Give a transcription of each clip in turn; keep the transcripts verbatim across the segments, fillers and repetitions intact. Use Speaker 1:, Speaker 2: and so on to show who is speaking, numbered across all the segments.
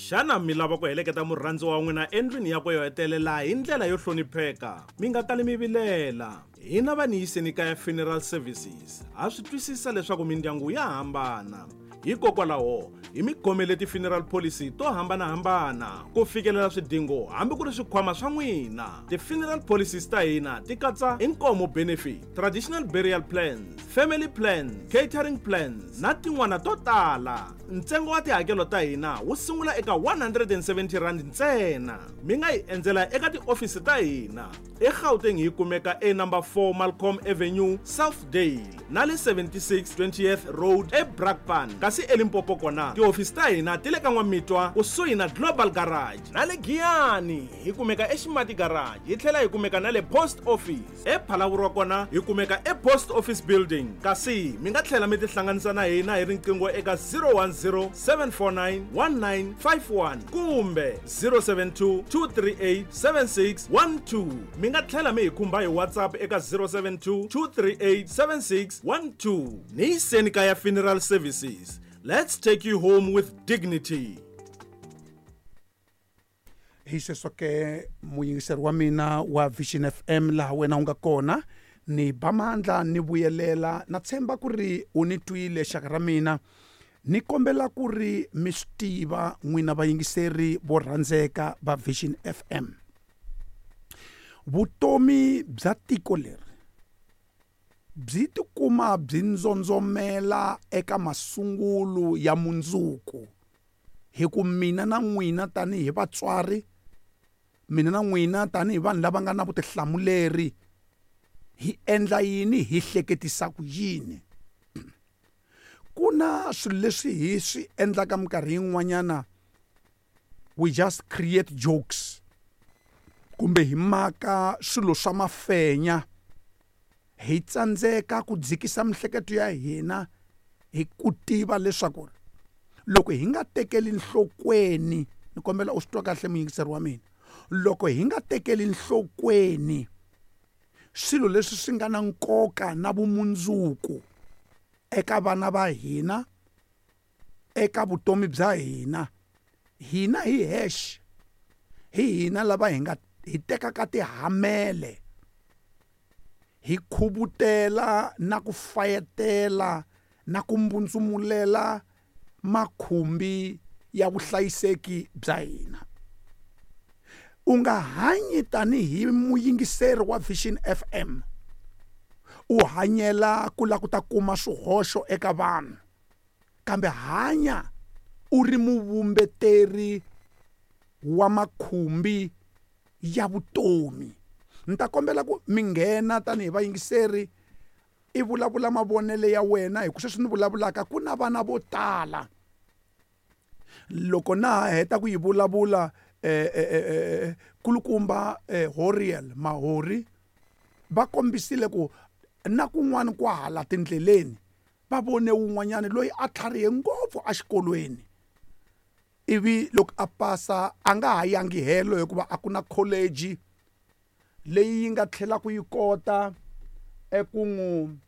Speaker 1: Xana mi lava ku heleketa murhandziwa wa n'wina endlwini yakwe yo hetelela hi ndlela yo hlonipheka? Mi nga kali mi vilela. Hina va Niyiseni Kaya Funeral Services ha swi twisisa leswaku mindyangu ya hambana. Hikokwalaho hi mi khomele ti-funeral policy to hambanahambana ku fikelela swidingo hambi ku ri swikhwama swa n'wina. Ti-funeral policies ta hina ti katsa inkomo benefit, traditional burial plans, family plans, catering plans na tin'wana to tala. Ntsengo wa tihakelo ta hina wu sungula eka one hundred and seventy rand ntsena. Mi nga hi endzela eka tiofisi ta hina eGauteng hi kumeka e number four Malcolm Avenue, Southdale na le seventy-six twentieth Road eBrakpan. Kasi eLimpopo kona tiofisi ta hina ti le ka N'wamitwa kusuhi na Global Garage na le Giyani hi kumeka eXimati Garage, hi tlhela hi kumeka na le Post Office. ePhalaborwa kona hi kumeka ePost Office Building. Kasi mi nga tlhela mi tihlanganisa na hina hi riqingho eka zero one zero seven four nine one nine five one kumbe zero seven two two three eight seven six one two. Mi nga tlhela mi hi khumba hi WhatsApp eka zero seven two two three eight seven six one two. Niyiseni Kaya Funeral Services. Let's take you home with dignity.
Speaker 2: Hi sweswo ke muyingiseri wa mina wa Vision F M laha wena u nga kona, ni ba mandla ni vuyelela na tshemba ku ri u ni twile xaka ra mina. Ni kombela ku ri mi swi tiva n'wina vayingiseri vo rhandzeka va Vision F M. Vutomi bya tiko leri byi tikuma byi ndzondzomela eka masungulo ya mundzuku. Hi ku mina na n'wina tanihi vatswari, mina na n'wina tanihi vanhu lava nga na vutihlamuleri, hi endla yini, hi hleketisa ku yini? Ku na swilo leswi hi swi endlaka minkarhi yin'wanyana, we just create jokes kumbe hi maka swilo swa mafenya, hi tsandzeka ku dzikisa mihleketo ya hina hi ku tiva leswaku loko hi nga tekeli nhlokweni, ni kombela u swi twa kahle muyingiseri wa mina, loko hi nga tekeli nhlokweni swilo leswi swi nga na nkoka na vumundzuku eka vana va hina, eka vutomi bya hina, hina hi hexe, hi hina lava hi nga hi tekaka tihamele, hi khuvutela na ku fayetela na ku mbundzumulela makhumbi ya vuhlayiseki bya hina. U nga hanyi tanihi muyingiseri wa Vision F M u hanyela ku lava ku ta kuma swihoxo eka vanhu, kambe hanya u ri muvumbeteri wa makhumbi ya vutomi. Ni ta kombela ku mi nghena tanihi vayingiseri i vulavula mavonelo ya wena, hi ku sweswi ni vulavulaka ku na vana vo tala. Loko na ha heta ku yi vulavula eh, eh, eh, kulukumba eh, Horiel Mahori va kombisile ku na kun'wana kwahala tindleleni va vone wun'wanyana loyi a tlharihe ngopfu exikolweni, ivi loko a pasa a nga ha yangi helo hikuva a ku na college leyi yi nga tlhelaka yi kota eku n'wi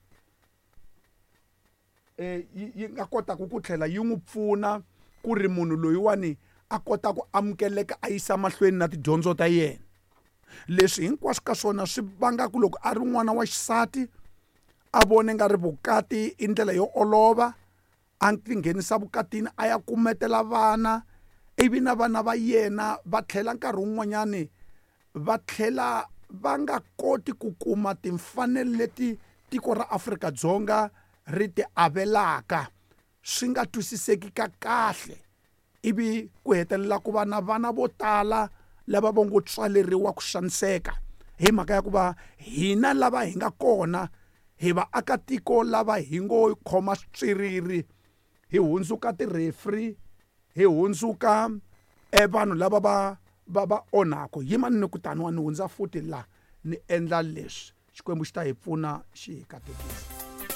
Speaker 2: yi nga kotaka ku tlhela yi n'wi pfuna ku ri munhu loyiwani a kota ku amukeleka a yisa mahlweni na tidyondzo ta yena. Leswi hinkwaswo ka swona swi vanga ku loko a ri n'wana wa xisati a vone nga ri vukati i ndlela yo olova, a tinghenisa vukatini a ya kumetela vana, ivi na vana va yena va tlhela nkarhi wun'wanyani va tlhela va nga koti ku kuma timfanelo leti tiko ra Afrika-Dzonga ri ti avelaka, swi nga twisiseki ka kahle, ivi ku hetelela ku va na vana vo tala lava va ngo tswaleriwa ku xaniseka hi mhaka ya ku va hina lava hi nga kona hi vaakatiko lava hi ngo khoma switswiriri, hi hundzuka ti-referee, hi hundzuka e vanhu lava va va va onhaka. Yimani ni ku taniwa ni hundza futhi la ni endla leswi, Xikwembu xi ta hi pfuna xi hi katekisa.